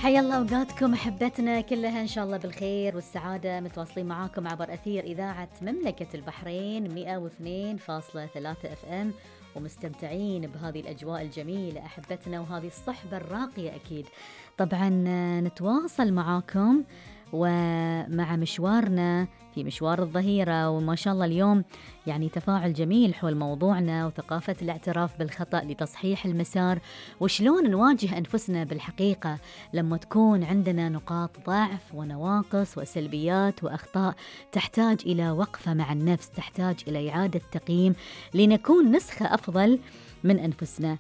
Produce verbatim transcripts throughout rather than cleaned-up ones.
حيا الله أوقاتكم أحبتنا كلها إن شاء الله بالخير والسعادة، متواصلين معاكم عبر أثير إذاعة مملكة البحرين مئة واثنين فاصلة ثلاثة اف ام، ومستمتعين بهذه الأجواء الجميلة أحبتنا وهذه الصحبة الراقية. أكيد طبعا نتواصل معاكم ومع مشوارنا في مشوار الظهيرة، وما شاء الله اليوم يعني تفاعل جميل حول موضوعنا وثقافة الاعتراف بالخطأ لتصحيح المسار، وشلون نواجه أنفسنا بالحقيقة لما تكون عندنا نقاط ضعف ونواقص وسلبيات وأخطاء تحتاج إلى وقفة مع النفس، تحتاج إلى إعادة تقييم لنكون نسخة أفضل من أنفسنا.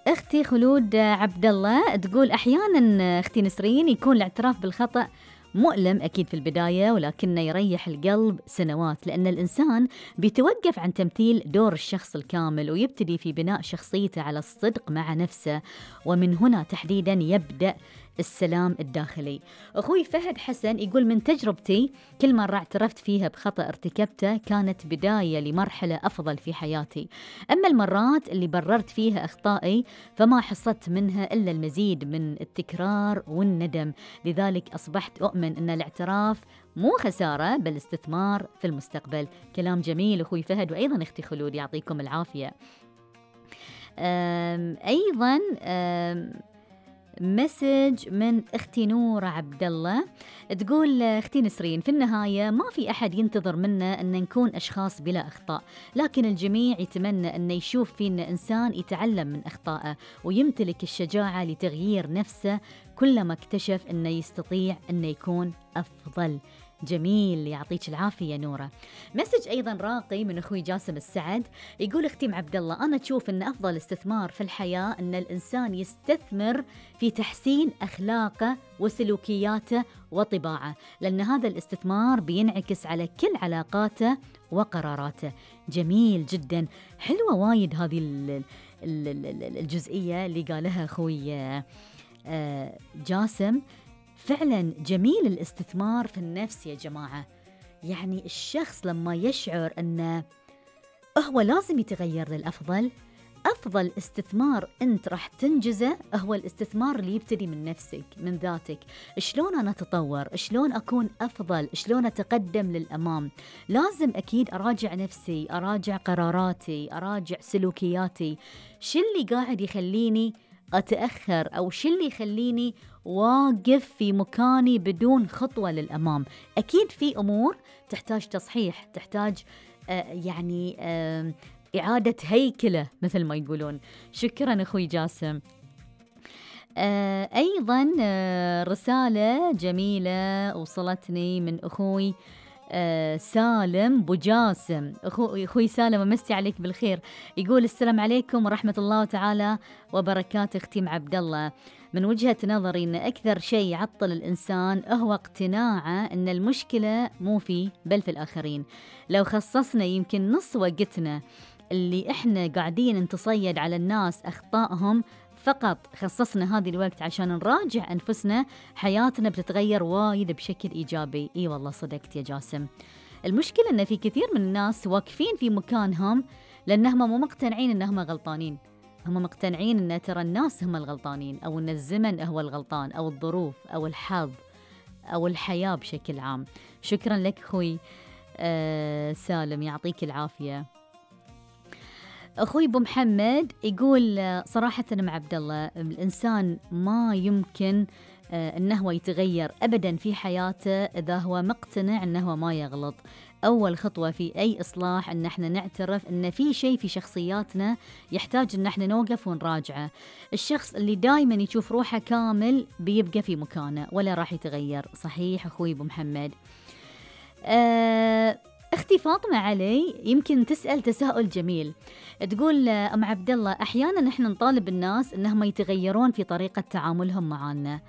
أختي خلود عبد الله تقول أحيانا أختي نسرين يكون الاعتراف بالخطأ مؤلم أكيد في البداية، ولكنه يريح القلب سنوات، لأن الإنسان بيتوقف عن تمثيل دور الشخص الكامل ويبتدي في بناء شخصيته على الصدق مع نفسه، ومن هنا تحديدا يبدأ السلام الداخلي. أخوي فهد حسن يقول من تجربتي كل مرة اعترفت فيها بخطأ ارتكبته كانت بداية لمرحلة أفضل في حياتي، أما المرات اللي بررت فيها أخطائي فما حصلت منها إلا المزيد من التكرار والندم، لذلك أصبحت أؤمن أن الاعتراف مو خسارة بل استثمار في المستقبل. كلام جميل أخوي فهد، وأيضا أختي خلود يعطيكم العافية. أم أيضا أم مسج من اختي نورة عبد الله تقول اختي نسرين في النهاية ما في احد ينتظر منا ان نكون اشخاص بلا اخطاء، لكن الجميع يتمنى ان يشوف فينا انسان يتعلم من اخطائه ويمتلك الشجاعة لتغيير نفسه كلما اكتشف انه يستطيع انه يكون افضل. جميل، يعطيك العافية نورة. مسج أيضا راقي من أخوي جاسم السعد يقول اختي عبد الله أنا تشوف أن أفضل استثمار في الحياة أن الإنسان يستثمر في تحسين أخلاقه وسلوكياته وطباعه، لأن هذا الاستثمار بينعكس على كل علاقاته وقراراته. جميل جدا، حلوة وايد هذه الجزئية اللي قالها أخوي جاسم. فعلا جميل الاستثمار في النفس يا جماعة، يعني الشخص لما يشعر أنه هو لازم يتغير للأفضل، أفضل استثمار أنت راح تنجزه هو الاستثمار اللي يبتدي من نفسك، من ذاتك. شلون أنا أتطور، شلون أكون أفضل، شلون أتقدم للأمام. لازم أكيد أراجع نفسي، أراجع قراراتي، أراجع سلوكياتي، شو اللي قاعد يخليني أتأخر أو شو اللي يخليني واقف في مكاني بدون خطوة للأمام. أكيد في أمور تحتاج تصحيح، تحتاج آه يعني آه إعادة هيكلة مثل ما يقولون. شكرا أخوي جاسم. آه أيضا آه رسالة جميلة وصلتني من أخوي آه سالم بوجاسم. أخو أخوي سالم أمسي عليك بالخير، يقول السلام عليكم ورحمة الله تعالى وبركاته اختي عبد الله. من وجهة نظري أن أكثر شيء يعطل الإنسان هو اقتناعه أن المشكلة مو فيه بل في الآخرين. لو خصصنا يمكن نص وقتنا اللي إحنا قاعدين نتصيد على الناس أخطائهم، فقط خصصنا هذه الوقت عشان نراجع أنفسنا، حياتنا بتتغير وايد بشكل إيجابي. إي والله صدقت يا جاسم. المشكلة أن في كثير من الناس واقفين في مكانهم لأنهم مو مقتنعين أنهم غلطانين، هم مقتنعين أن ترى الناس هم الغلطانين، أو أن الزمن هو الغلطان، أو الظروف، أو الحظ، أو الحياة بشكل عام. شكرا لك أخوي آه سالم، يعطيك العافية. أخوي أبو محمد يقول صراحة مع عبد الله الإنسان ما يمكن أنه يتغير أبدا في حياته إذا هو مقتنع أنه ما يغلط. أول خطوة في أي إصلاح أن احنا نعترف أن في شيء في شخصياتنا يحتاج أن احنا نوقف ونراجعه. الشخص اللي دايما يشوف روحه كامل بيبقى في مكانه ولا راح يتغير. صحيح أخوي أبو محمد. أه أختي فاطمة علي يمكن تسأل تساؤل جميل، تقول أم عبد الله أحيانا نحن نطالب الناس أنهم يتغيرون في طريقة تعاملهم معنا،